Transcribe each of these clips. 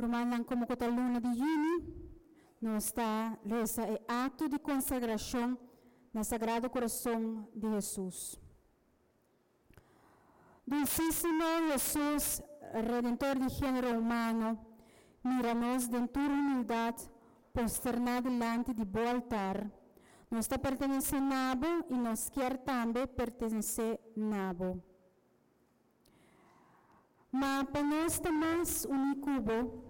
Rumannan, komo ku ta luna di yüni, nos ta resa e akto di konsagrashon na Sagrado Kurason di Hesus. Dulsísimo Hesus, Redentor di género humano, mira nos den tur humildat posterná dilanti di bo altar. Nos ta pertenesé na bo i nos kier tambe pertenesé na bo. Ma pa nos ta mas uní ku bo,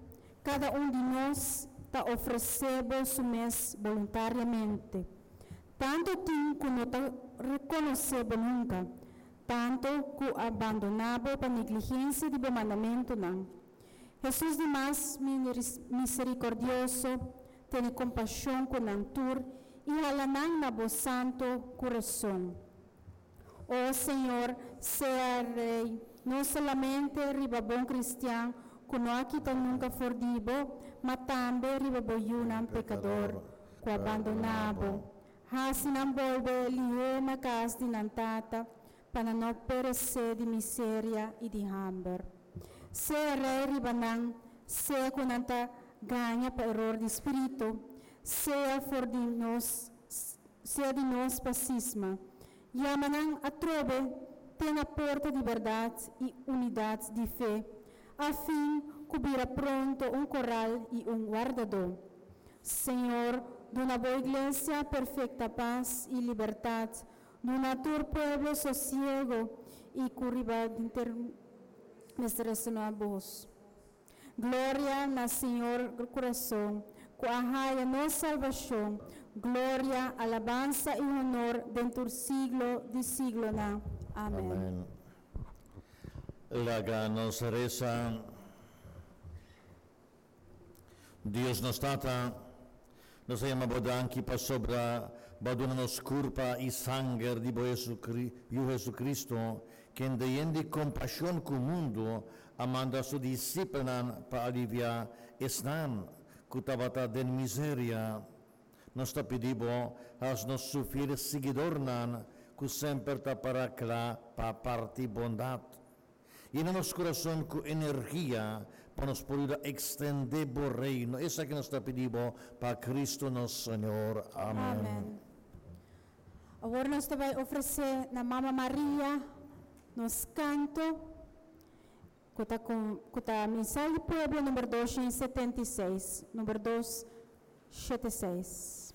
kada un di nos ta ofresé bo su mes boluntariamente. Tantu tin ku no ta rekonosé bo nunka, tantu ku a bandoná bo pa negligensia di bo mandamentunan. Hesus di mas miserikordioso, tene kompashon ku nan tur i hala nan na bo santu kurason. O Señor, sea Rey, no solamente riba bon cristian cu no a kita nunca for di bo, ma tambe riba bo yunan pecador cu a bandona bo. Haci nan bolbe lihé na cas di nan tata, pa nan no perecé di miseria i di hamber. Sea Rey riba nan, sea cu nan ta gaña pa eror di spirito, sea for di nos, sea di nos pa sisma. Yama nan atrobe te na porta di bèrdat i unidat di fe, afin ku bira pronto un koral i un wardadó. Señor, duna bo iglesia perfekta pas i libertat, duna tur pueblo sosiego i ku riba denter mester resoná bos. Gloria na Señor Kurason, ku a haya nos salbashon, gloria, alabansa i honor den tur siglo di siglonan. Amen. Amen. Laga nos resa. Dios nos Tata, nos a yama Bo danki pasobra Bo a duna nos kurpa i sanger di Bo Yu Jesucristo, kende yen di kompashon ku mundu a manda su disipelnan pa aliviá esnan ku tabata den miseria. Nos ta pidi bo hasi nos su fiel siguidornan ku semper ta para kla pa parti bondat. Yena nos kurason ku energia pa nos por yuda ekstendé bo Reino. Esaki nos ta pidi bo pa Kristu nos Señor. Amen. Amen. Awor nos ta bai ofresé na Mama Maria nos kanto ku ta ku ta Misal di Pueblo number 276, number 276.